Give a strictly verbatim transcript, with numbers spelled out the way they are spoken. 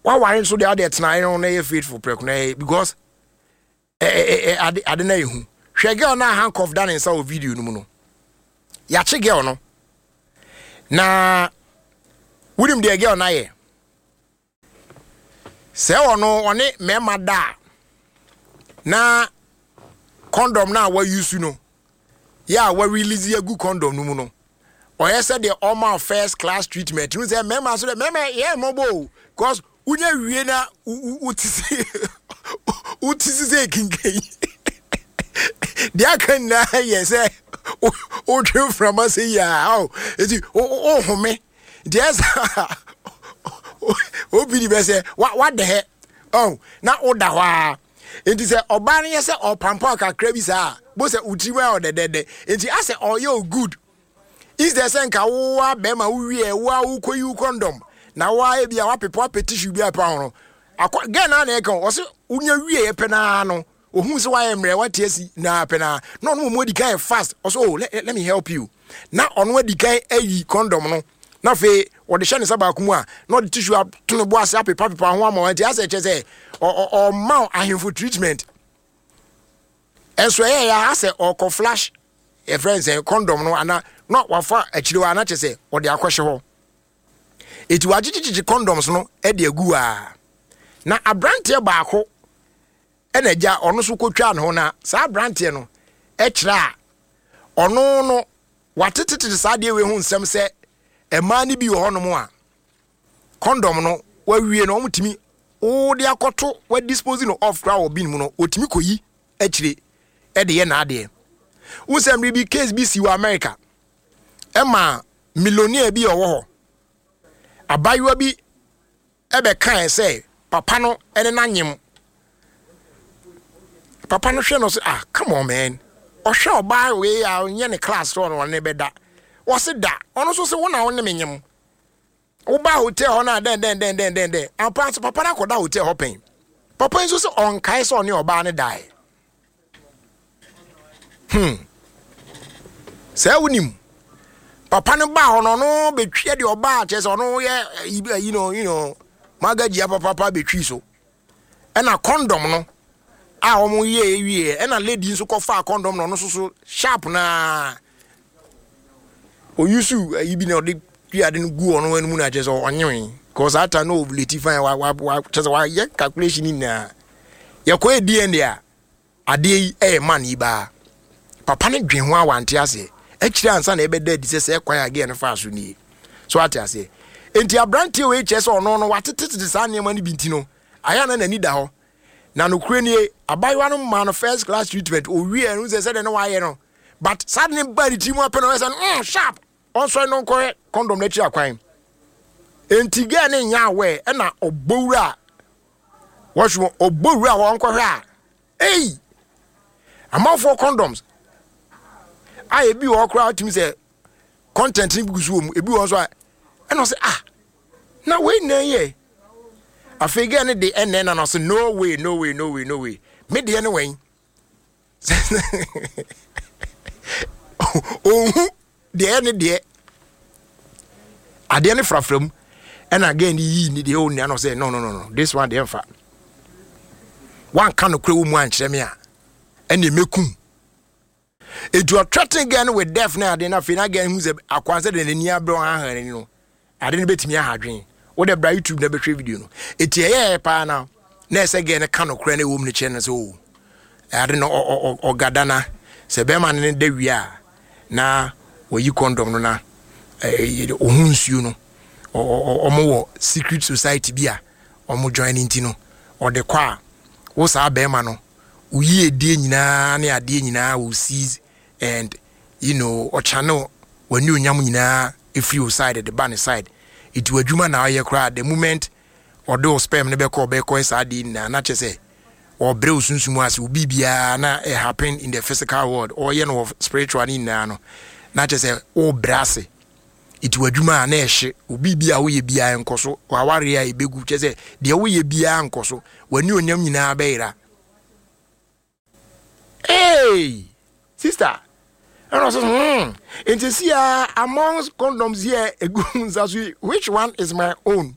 Waware nso deɛ, adeɛ tena yɛn na yɛ faithful prɛko na yɛ, because ɛ ɛ ɛ ade ade na yɛ hu. Hwɛ, girl na handcuff da ne nsa wɔ video no mu no, yɛakye girl no. Na wonim deɛ girl no ayɛ? Sɛ ɔno ɔne mmarima da a, na condom no a wayusu no yɛ a, warelease agu condom no mu no, ɔyɛ sɛ deɛ ɔma first class treatment no, sɛ mmarima nso dɛ, mmarima yɛ mmɔbɔ o, cause wonya wie na wote si wote si sɛ kinkan deɛ aka nyinaa yɛ sɛ wotwe mframa sɛ yi a ɔ eti wohome. Nti ɛsɛ obi di bɛ sɛ wadɛ hɛ ɔ na woda hɔ a, nti sɛ ɔbaa no yɛ sɛ ɔpampa kakra bi saa, bo sɛ wotiri mu ayɛ ɔdɛdɛdɛ, nti asɛ ɔyɛ o good instead sɛ nka wowa bɛrima wowie wo a wokɔyi wo condom na woa ebi a wapepa wapɛ tissue bi apa ho no akɔ. Girl naa na ɛka ɔsɛ wonya wie yɛ pɛ naa no, ohun sɛ wayɛ mmerɛ, wate asi naa pɛ naa na ɔno mu adi kan yɛ fast. Ɔsɛ, "Oh, let, let me help you," na ɔno adi kan ayi condom no, na afei ɔde hyɛ ne nsa baako mu a, na ɔde tissue ato ne bo ase apepa pepa ho ama wɔn. Nti asɛ kyerɛ sɛ ɔma ahemfo treatment. Ɛnso ɛyɛ yɛ asɛ ɔkɔ flash yɛfrɛ nsɛn condom no ana na wafa akyire hɔ ana kyerɛ sɛ ɔde akɔhyɛ hɔ. Eti wagyegyegyegye condoms no de agu a, na aberanteɛ baako ɛna agya ɔno nso kɔtwa ne ho. Na saa aberanteɛ no ɛkyerɛ a, ɔno no watetetete saa adeɛ wei ho nsɛm sɛ mmaa no bi wɔ hɔnom a, condom no wawie no, wɔtumi wode akɔto, wadispose no off koraa wɔ bin mu no, wɔtumi kɔyi akyire ɛde yɛ n'adeɛ. Wosɛ mmere bi, case bi si wɔ America, ɛma millionaire bi a ɔwɔ hɔ, abayewa bi ɛbɛkae sɛ papa no ɛne n'anyem. Papa no hwɛ no sɛ, "Ah, come on, man." Ɔhwɛ ɔbaa wei a ɔnyɛ ne class sɛ ɔno ɔne bɛda. Wɔse da, ɔno nso sɛ wo na wo ne me nyem, woba hotel hɔ no a, dɛn dɛn dɛn dɛn dɛn dɛn. Ampa nso papa no akɔda hotel hɔ pɛn. Papa yi nso sɛ ɔnkae sɛ ɔne ɔbaa no dae. hmm sɛ wonim papa no baa hɔ no, ɔno bɛtwi deɛ ɔbaa kyerɛ sɛ ɔno yɛ you know you know magagyia papapa bɛtwi so. Ɛna condom no a wɔn yɛ wie, ɛna lady nso kɔfaa condom no, ɔno nso so sharp naa oyusu ayi bi na ɔde twi ade no gu ɔno anim na kyerɛ sɛ ɔnyewe, cause saa time no ovulate fine. Wa wa wa kyerɛ sɛ wayɛ calculation nyinaa, yɛkɔ yɛ D N A a, adeɛ yi ɛyɛ man yi baa. Papa no dwen ho a, wante aseɛ. Akyire ansa na ɛbɛda adi sɛ sɛ kwan a girl no faa so nie so, ate aseɛ? Nti aberanteɛ wei kyerɛ sɛ ɔno no watetetete saa nneɛma no bi, nti no ayɛ na n'ani da hɔ. Na nokorɛ nie, abayewa no maa no first class treatment. Owie ɛno sɛ sɛdeɛ ne wayɛ no, but saa de ne ba ne tiri mu apɛ no, ɔyɛ sɛ mm sharp ɔnsɔre no nkɔhwɛ condom n'akyi akwan. Nti girl ne nya awɛ, ɛna ɔbɔ wura wɔhwɛ, ɔbɔ wura hɔ ɔnkɔhwɛ a, ei, amanfoɔ condoms a ebi wɔ hɔ koraa tumi sɛ content no gu so wɔ mu, ebi wɔ nso a, ɛna ɔsɛ, "Ah, na wei na yɛ." Afei girl no de ɛnɛ na no ɔsɛ, "No way, no way, no way, no way, me deɛ no wɛn." Ohun deɛ ɛne deɛ adeɛ no frafra mu, ɛna girl no yii ne deɛ ɔnua no sɛ, no no no no this one deɛ, mfa wanka no kora wɔ mu ankyerɛ me a, ɛne mɛkum." Etu ɔthreaten girl no with death na ade. Na afei na girl hu sɛ akwan sɛ de n'ani abrɛ ɔhahan n'ani no, ade no bɛtumi aha adwene. Wode bra YouTube na bɛhwɛ video no. Eti ɛyɛ paa na na ɛsɛ girl no ka no korɛ no ɛwɔ mu no kyerɛ no sɛ o ade no ɔgada na sɛ bɛrima no ne da wie a, na wɔyi condom no na ɔho nsuo no, ɔmo wɔ secret society bi a ɔmo join ne. Nti no ɔde kɔ a, wo saa bɛrima no woyi edie nyinaa ne adeɛ nyinaa will cease and you know ɔchannel w'ani onyam nyinaa efiri wo side de ba ne side. Eti w'adwuma na ɔyɛ koraa, the moment ɔde wo sperm no bɛkɔ, ɔbɛkɔ saa adeɛ nyinaa na kyerɛ sɛ ɔbrɛ wo sunsum ase, obi biara na ɛ happen in the physical world, ɔyɛ no wɔ spiritual ne nyinaa no, na kyerɛ sɛ ɔbrɛ ase. Eti w'adwuma a na ɛhye, obi bi a woyɛ biara nkɔ so, w'awareɛ a ebegu, kyerɛ sɛ deɛ woyɛ biara nkɔ so, w'ani onyam nyinaa bɛyera. Hey sister, ɛna ɔsɛ hmm nti si a, amongst condoms here egu nsa so yi, which one is my own?